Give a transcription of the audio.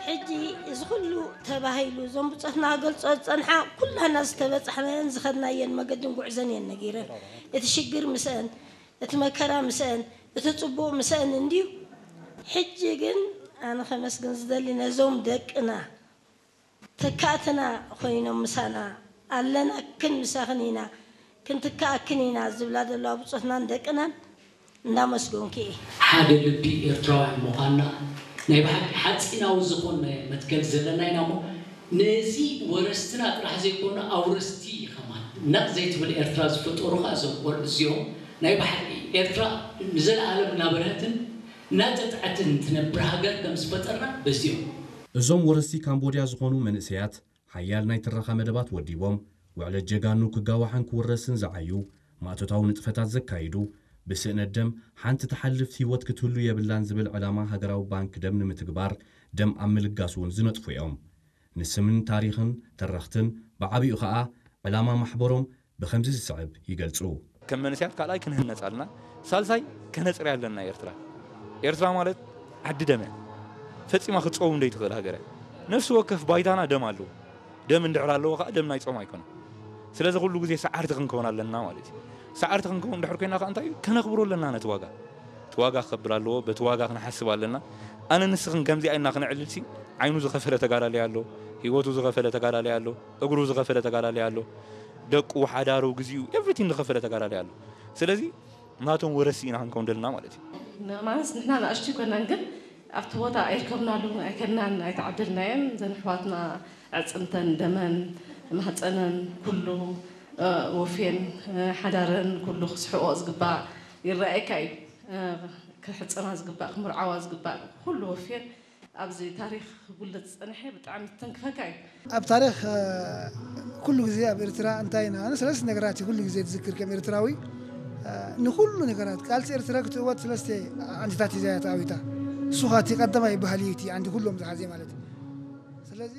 ሕጂ እዚ ኩሉ ተባሂሉ እዞም ብጾትና ክገልጾ ዝጸንሓ ኩላና ዝተበጻሕናዮን ዝኸድናዮን መገድን ጉዕዞን እየን ነጊረን። እቲ ሽግር ምስአን፣ እቲ መከራ ምስአን፣ እቲ ጽቡቕ ምስአን እንድዩ። ሕጂ ግን ኣነ ከመስግን ዝደሊ ነዞም ደቅና ተካእትና ኮይኖም ምሳና ኣለናክን ምሳኽን ኢና ክንትካኣክን ኢና ዝብላ ዘለዋ ብጾትናን ደቅናን እንዳመስገንኩ እየ። ሓደ ልቢ ኤርትራውያን ምዃንና ናይ ብሓቂ ሓጺናዊ ዝኾነ መትከል ዘለና ኢና እሞ ነዚ ወረስትና ጥራሕ ዘይኮነ ኣውረስቲ ከማን ነቕ ዘይትብል ኤርትራ ዝፈጠሩ ከኣ እዞም ቆልዑ እዚኦም ናይ ብሓቂ ኤርትራ ንዘለኣለም እናበርሀትን እናጠጥዐትን ትነብር ሃገር ከም ዝፈጠርና በዚኦም እዞም ወረስቲ ካምቦድያ ዝኾኑ መንእሰያት ሓያል ናይ ትረኻ መደባት ወዲቦም ውዕለት ጀጋኑ ክጋዋሕን ክውረስን ዝዓዩ ማእቶታዊ ንጥፈታት ዘካይዱ ብስእነት ደም ሓንቲ ትሓልፍ ህይወት ክትህሉ የብላን ዝብል ዕላማ ሃገራዊ ባንክ ደም ንምትግባር ደም ኣብ ምልጋስ እውን ዝነጥፉ እዮም። ንስምን ታሪኽን ተረኽትን ብዓቢኡ ኸኣ ዕላማ ማሕበሮም ብኸምዚ ዝስዕብ ይገልጹ። ከም መንእሰያት ካልኣይ ክንህነጽ ኣለና፣ ሳልሳይ ከነጽርያ ኣለና ኤርትራ። ኤርትራ ማለት ዓዲ ደም እያ። ፈጺማ ክትጸውም ዘይትኽእል ሃገር እያ። ነፍሲ ወከፍ ባይታና ደም ኣለዎ። ደም እንድሕር ኣለዎ ከኣ ደም ናይ ጾም ኣይኮነን። ስለዚ ኩሉ ግዜ ሰዓርቲ ክንከውን ኣለና ማለት እዩ። ሰዓርቲ ክንከውን እንድሕር ኮይና ከኣ እንታይ እዩ? ከነኽብሮ ኣለና ነቲ ዋጋ። እቲ ዋጋ ክኸብር ኣለዎ፣ በቲ ዋጋ ክንሓስብ ኣለና። ኣነ ንስኽን ከምዚኣ ኢልና ክነዕልልሲ ዓይኑ ዝኸፈለ ተጋዳላይ ኣሎ፣ ህይወቱ ዝኸፈለ ተጋዳላይ ኣሎ፣ እግሩ ዝኸፈለ ተጋዳላይ ኣሎ፣ ደቁ፣ ሓዳሩ፣ ግዚኡ፣ everything ዝኸፈለ ተጋዳላይ ኣሎ። ስለዚ ናቶም ወረስቲ ኢና ክንከውን ደልና ማለት እዩ። ማለት ንሕና ንኣሽቱ ይኮናን ግን ኣብቲ ቦታ ኣይርከብናሉን ኣይከድናን ኣይተዓደልናየን ዘን ኣሕዋትና ኣዕፅምተን ደመን ማህፀነን ኩሉ ወፌን ሓዳረን ኩሉ ክስሕቆ ዝግባእ ይረኣየካ እዩ። ክሕፀና ዝግባእ ክምርዓዋ ዝግባእ ኩሉ ወፌን ኣብዚ ታሪኽ ክጉልት ዝፀንሐ ብጣዕሚ ዝተንክፈካ እዩ። ኣብ ታሪኽ ኩሉ ግዜ ኣብ ኤርትራ እንታይ ኢና ኣነ ሰለስተ ነገራት ኩሉ ግዜ ትዝክር ከም ኤርትራዊ ንኩሉ ነገራት ቃልሲ ኤርትራ ክትእወት ሰለስተ ዓንድታት ሒዛ እያ ተኣዊታ። እሱ ኻቲ ቀዳማይ ባህሊ እዩ እቲ ዓንዲ ኩሎም ዝሓዘ ማለት እዩ። ስለዚ